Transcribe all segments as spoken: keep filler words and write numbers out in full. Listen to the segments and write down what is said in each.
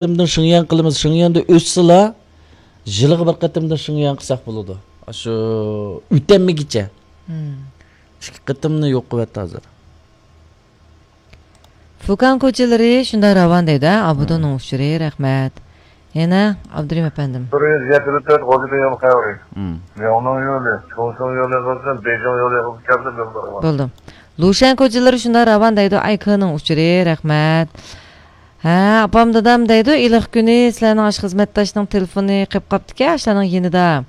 قېتىمدىن شىڭيەن قىلىمىز، شىڭيەندە ئۆتسىلا، يىلىغا بىر قېتىمدىن شىڭيەن قىلساق بولىدۇ. ئاشۇ ئۆتەلمىگىچە. مم. ئىككى قېتىمنى يوق قىلىۋەتتى ھازىر. فۇكان كوچىلىرى شۇنداق راۋان دەيدۇ، ھە؟ ئابىدۇننىڭ ئۇچۇرى، رەھمەت. يەنە ئابدۇرېھىم ئەپەندىم. بىر يۈز يەتتە تۆت غوزىدە يول خەۋىرى. مم. لياۋنىڭ يولى، چۇڭشىڭ يولى قىلسۇن، بېيجىڭ يولى قىلسۇن، كەلدى بىر بار. بولدى. لۇشەن كوچىلىرى شۇنداق راۋان دەيدۇ، ئايكېنىڭ ئۇچۇرى، رەھمەت. ھە، ئاپام دادام دەيدۇ، ئىللىق كۈنى سىلەرنىڭ ئاشۇ خىزمەتداشنىڭ تېلېفونى قېلىپ قاپتىكەن، ئاشۇلارنىڭ يېنىدا.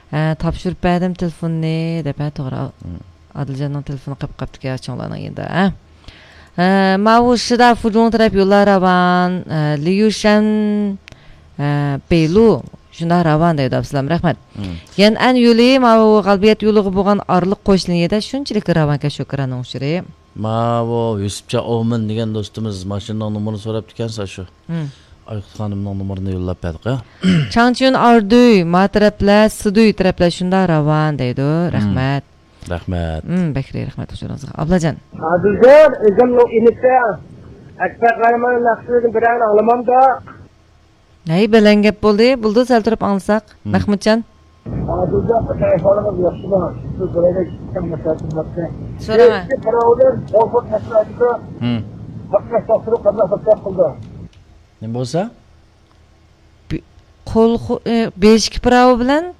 ھە، تاپشۇرۇپ بەردىم تېلېفوننى، دەپ، ھە، توغرا. مم. ئادىلجاننىڭ تېلېفونى قېلىپ قاپتىكەن، چوڭلارنىڭ يېنىدا، ھە. ھە، ماۋۇ شىدا فۇجۇڭ تەرەپ يوللار راۋان، ھە، ليۇشەن، ھە، بېيلۇ، شۇنداق راۋان دەيدۇ، ئابسالام، رەھمەت. مم. يەنئەن يولى، ماۋۇ غەلبىيەت يولىغا بولغان ئارىلىق قوش لىنىيەدە شۇنچىلىك راۋانكەن، شوكىراننىڭ ئۇچۇرى. ماۋۇ يۈسۈپجان ئومىن دېگەن دوستىمىز ماشىنىنىڭ نومۇرىنى سوراپتىكەن، شۇ. مم. ئايقۇت خانىمنىڭ نومۇرىنى يوللاپ بەردۇق، ھە. چاڭچيۈن ئاردۈي، ما تەرەپلەر، سىدۈي تەرەپلەر شۇنداق راۋان دەيدۇ. مم. رەھمەت. رەھمەت. مم، بەك رەھمەت ھۇزۇرىڭىزغا. ئابلاجان. ئادىلجان، ئۆزۈمنىڭ ئىنىسى ئەكبەر قەھرىماننىڭ ناخشىلىرىدىن بىرەرنى ئاڭلىمامدا؟ ھەي، بەلەن گەپ بولدى. بولدى، سەل تۇرۇپ ئاڭلىساق. مم. مەھمۇتجان. ئادىلجان، ئاكا، ئەھۋالىڭىز ياخشىمۇ؟ سىز بىرەيلەن كىچىك مەسلىھەتىم بار. سوراڭە. ئىككى پىراۋىدىن قول خۇت مەسىلە ئايتىدۇ. مم. قاتناش تاپشۇرۇپ قانداق خىزمەت قىلدى؟ نېمە بولسا؟ بى-، قول خو-، ئى، بېشكى پىراۋا بىلەن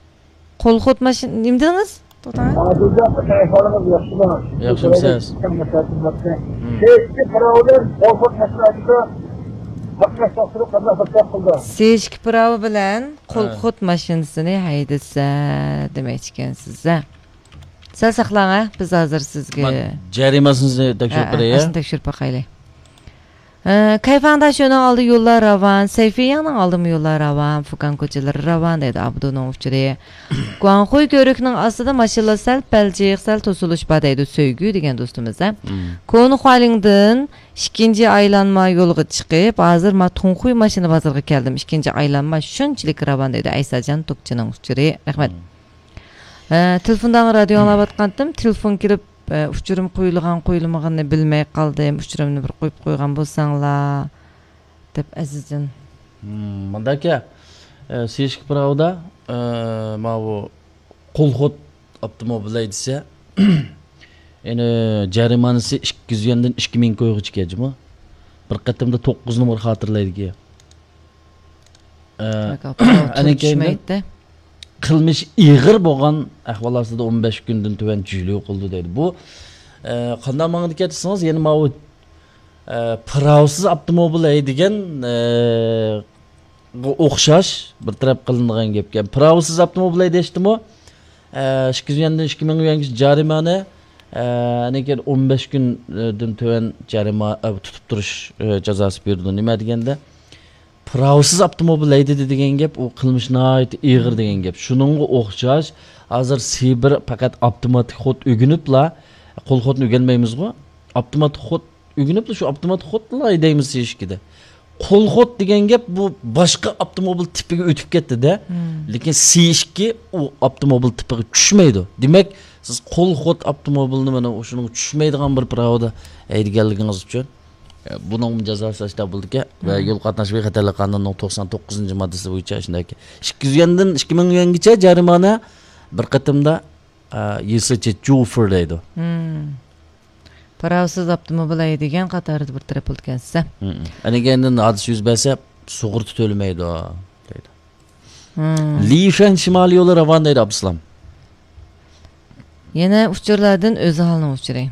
قول خوت ماشىنا، نېمە دېدىڭىز؟ توختاڭ. ئادىلجان، ئاكا، ئەھۋالىڭىز ياخشىمۇ؟ ياخشىمۇسىز؟ مم. سېشكى پىراۋا بىلەن قول خوت ماشىنا ھەيدىسە، قاتناش تاپشۇرۇپ قانداق خىزمەت قىلدى؟ سېشكى پىراۋا بىلەن قول ھە. خوت ماشىنىسىنى ھەيدىسە دېمەكچىكەنسىز، ھە؟ سەل ساقلاڭ، ھە؟ بىز ھازىر سىزگە ما-، جەرىماسىنى تەكشۈرۈپ ھە، ھە، بېرەي، ھە؟ ئەسلىنى تەكشۈرۈپ باقايلى. ئە، كەيفاڭدا شۇنىڭ ئالدى يوللار راۋان، سەيفىياڭنىڭ ئالدىمۇ يوللار راۋان، فۇكان كوچىلىرى راۋان دەيدۇ ئابدۇنىڭ ئۇچۇرى. گۇاڭخۇي كۆۋرۈكنىڭ ئاستىدا ماشىنىلار سەل پەلجىق، سەل توسۇلۇش بار دەيدۇ سۆيگۈ دېگەن دوستىمىز، ھە. مم. كونا خۇالىڭدىن ئىككىنچى ئايلانما يولغا چىقىپ، ھازىر ما تۇڭخۇي ماشىنا بازىرىغا كەلدىم. ئىككىنچى ئايلانما شۇنچىلىك راۋان دەيدۇ ئەيساجان توپچىنىڭ ئۇچۇرى. رەھمەت. مم. ئە، تېلېفوندىن رادىيو ئاڭلاۋاتقانتىم. تېلېفون كېلىپ، ئە، ئۇچۇرۇم قويۇلغان، قويۇلمىغىنىنى بىلمەي قالدىم. ئۇچۇرۇمنى بىر قويۇپ قويغان بولساڭلار، دەپ ئەزىزجان. مم، مۇنداكى، ئە، سېشكا پىراۋىدا، ئە، ماۋۇ قول خوت ئاپتوموبىل ھەيدىسە، يەنى جەرىمانىسى ئىككى يۈز يۈەندىن ئىككى مىڭ كويغىچە كەجىمۇ. بىر قېتىمدا توققۇز نومۇر خاتىرىلەيدىكەن. ئە، بەك ئاپتوموبىل ئەنە كېيىندىن چۈشمەيتتى. قىلمىشى ئېغىر بولغان ئەھۋال ئاستىدا ئون بەش كۈندىن تۆۋەن جۈلۇ قىلىدۇ دەيدۇ. بۇ، ئە، قانداق ماڭىدىكەن دېسىڭىز، يەنە ماۋۇ، ئە، پىراۋسىز ئاپتوموبىل ھەيدىگەن، ئە، غا ئوخشاش بىر تەرەپ قىلىنىدىغان گەپكەن. پىراۋسىز ئاپتوموبىل ھەيدەشتىمۇ، ئە، ئىككى يۈز يۈەندىن ئىككى مىڭ يۈەنگىچە جەرىمانە، ئە، ئاندىن كېيىن ئون بەش كۈندىن تۆۋەن جەرىما-، ئە، تۇتۇپ تۇرۇش، ئە، جازاسى بېرىدۇ. نېمە دېگەندە، پىراۋسىز ئاپتوموبىل ھەيدىدى دېگەن گەپ، ئۇ قىلمىش ناھايىتى ئېغىر دېگەن گەپ. شۇنىڭغا ئوخشاش، ھازىر سىبىر پەقەت ئاپتوماتىك خوت ئۆگىنىپلا، قول خوتنى ئۆگەنمەيمىزغۇ، ئاپتوماتىك خوت ئۆگىنىپلا، شۇ ئاپتوماتىك خوتلا ھەيدەيمىز سېشكىدە. قول خوت دېگەن گەپ، بۇ باشقا ئاپتوموبىل تىپىگە ئۆتۈپ كەتتى-دە. مم. لېكىن سى ئىككى ئۇ ئاپتوموبىل تىپىغا چۈشمەيدۇ. دېمەك، سىز قول خوت ئاپتوموبىلنى مانا شۇنىڭغا چۈشمەيدىغان بىر پىراۋىدا ھەيدىگەنلىكىڭىز ئۈچۈن، ئە، بۇنىڭ جازاسى ئاشۇنداق بولىدىكەن. ۋە مم. يول قاتناش بىخەتەرلىك قانۇنىنىڭ توقسان توققۇزىنچى ماددىسى بويىچە شۇنداق. ئىككى يۈز يۈەندىن ئىككى مىڭ يۈەنگىچە جەرىمانە، بىر قېتىمدا، ئە، يېسىچى جۇفېر دەيدۇ. مم. پىراۋسىز ئاپتوموبىل ھەيدىگەن قاتارىدا بىر تەرەپ بولىدىكەنسىز. مم. ئەنە كېيىندىن ھادىسە يۈز بەرسە، سۇغۇرتا تۆلىمەيدۇ، دەيدۇ. مم. لىشەن شىمالىي يولى راۋان دەيدۇ ئابدۇسالام. يەنە ئۇچۇرلاردىن ئۆزھالنىڭ ئۇچۇرى.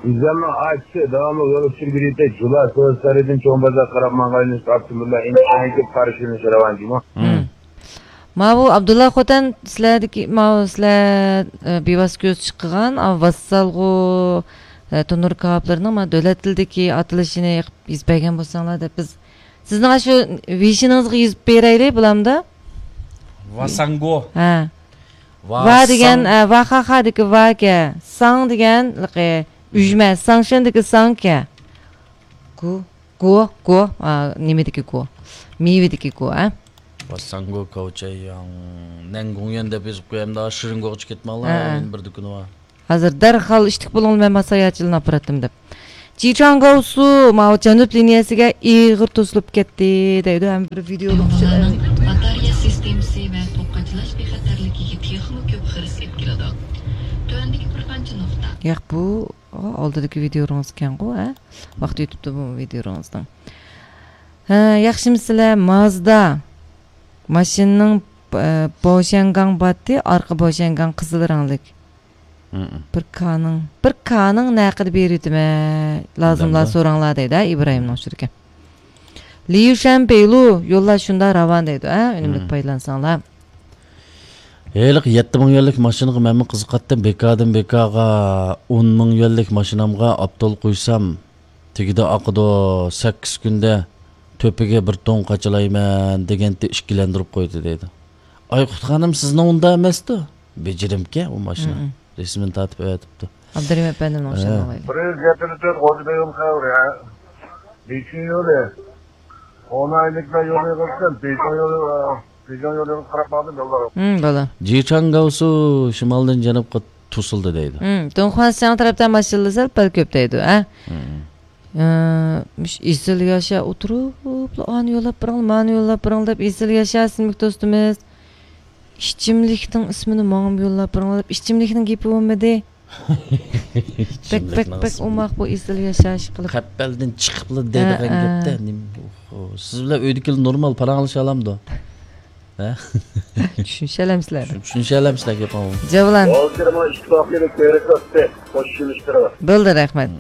ئۆزھالنىڭ ئاچىسى داۋاملىق يول ئۇچۇرى بېرىدۇ. جۇلا سودا سارىيىدىن چوڭ بازار قاراپ ماڭغان يۈنۈس ئاپتوموبىللار ئىنتايىن كۆپ قارشى يۈنۈس راۋان دېمۇ. مم. ماۋۇ ئابدۇللا خوتەن سىلەردىكى، ماۋۇ سىلەر، ئە، بىۋاسىتە كۆز چىقىغان، ئا، ۋاسسالغۇ، ئە، تونۇر كاۋاپلىرىنىڭ مانا دۆلەت تىلىدىكى ئاتىلىشىنى يېزىپ بەرگەن بولساڭلار دەپ بىز سىزنىڭ ئاشۇ ۋېيشىنىڭىزغا يېزىپ بېرەيلى، بولامدا؟ ۋاساڭگو. ھە. ۋا ۋا دېگەن، ساڭ. ئە، ۋا خا خادىكى ۋا ئىكەن. ساڭ دېگەن، لىقى، ئۈجمە. ساڭشېندىكى ساڭ ئىكەن. گۇ، گۇ، گۇ. ئا، نېمىدىكى گۇ؟ مېۋىدىكى گۇ، ئە؟ ۋاساڭگو كاۋچەيياڭ. نەنگۇڭيۈەن دەپ يېزىپ قويامدا، شىرىنگوغىچە كەتمەڭلار، ھە، ھە. يەنە بىر دۇكىنى بار. ھازىر دەرھال ئىشتىك بولۇڭلار، مەن ماساياچىلىنى ئاپىراتتىم دەپ. جىچاڭگاۋسۇ ماۋۇ جەنۇب لىنىيەسىگە ئېغىر توسۇلۇپ كەتتى دەيدۇ، ھەم بىر ۋىدېئولۇق. باتارېيە سىستېمىسى ۋە توك قاچىلاش بىخەتەرلىكىگە تېخىمۇ كۆپ خىرىس ئېلىپ كېلىدۇ. تۆۋەندىكى بىر قانچە نۇقتا. ياق، بۇ ئالدىدىكى ۋىدېئولىرىڭىزكەنغۇ، ھە؟ ۋاقتى ئۆتۈپتۇ بۇ ۋىدېئولىرىڭىزنىڭ. ھە، ياخشىمۇسىلەر؟ مازدا ماشىنىنىڭ، ئە، بوشيەنگاڭ باتتى، ئارقا بوشيەنگاڭ قىزىل رەڭلىك. مم. بىر كانىڭ، بىر كانىڭ نەقىدە بېرىۋېتىمەن، لازىملار سوراڭلار دەيدۇ، ھە، ئىبراھىمنىڭ ئۇچۇرىكەن. ليۇشەن بېيلۇ، يوللار شۇنداق راۋان دەيدۇ، ھە، ئۈنۈملۈك پايدىلانساڭلار. ھېلىقى يەتتە مىڭ يۈەنلىك ماشىنىغا مەنمۇ قىزىقاتتىم، بىكادىن بىكاغا ئون مىڭ يۈەنلىك ماشىنامغا ئاپتول قۇيسام، تېگىدە ئاقىدۇ، سەككىز كۈندە تۆپىگە بىر توننا قاچىلايمەن دېگەنتى ئىككىلەندۈرۈپ قويدى دەيدۇ. ئايقۇت خانىم، سىزنىڭ ئۇنداق ئەمەستۇ؟ بېجىرىمكەن ئۇ ماشىنا. مم. رەسىمىنى تارتىپ ئەۋەتىپتۇ. ئابدۇرېھىم ئەپەندىمنىڭ ئوخشاپ قالغىلى. بىر يۈز يەتتە تۆت غوجا بېگىم خەۋىرى، ھە؟ بېيجىڭ يولى. ئون ئايلىقلار يولى قىلسۇن. بېيجىڭ يولى، بېيجىڭ يولىغا قاراپ ماڭدىم يوللارغا. ھىم، بولە. جىچاڭگاۋسۇ شىمالدىن جەنۇبقا توسۇلدى دەيدۇ. ھىم، دۇڭخۇەنسىياڭ تەرەپتە ماشىنىلار سەل پەل كۆپ دەيدۇ، ھە؟ ھىم. ئە، مۇشۇ ئېسىل ياشا ئولتۇرۇپلا، ئانى يوللاپ بېرىڭ، مانى يوللاپ بېرىڭ دەپ ئېسىل ياشا ئىسىملىك دوستىمىز. ئىچىملىكنىڭ ئىسمىنى ماڭىمۇ يوللاپ بېرىڭ دەپ، ئىچىملىكنىڭ گېپى بولمىدى. بەك، بەك، بەك ئوماق بۇ ئېسىل ياشاش قىلىپ. قەپەلدىن چىقىپلا دەيدىغان ھە، ھە. گەپتە. نېمە، ئۇ، سىز بىلەن ئۆيدىكىلەر نورمال پاراڭلىشالامدۇ؟ ھە؟ چۈشىنىشەلەمسىلەر؟ چۈشىنىشەلەمسىلەر گېپىڭىزنى؟ جاۋلان. ھازىر مانا ئىتتىپاقلىق كۆرسەتتى. خوش ئىشلىشتۇرۇڭ. بولدى، رەھمەت.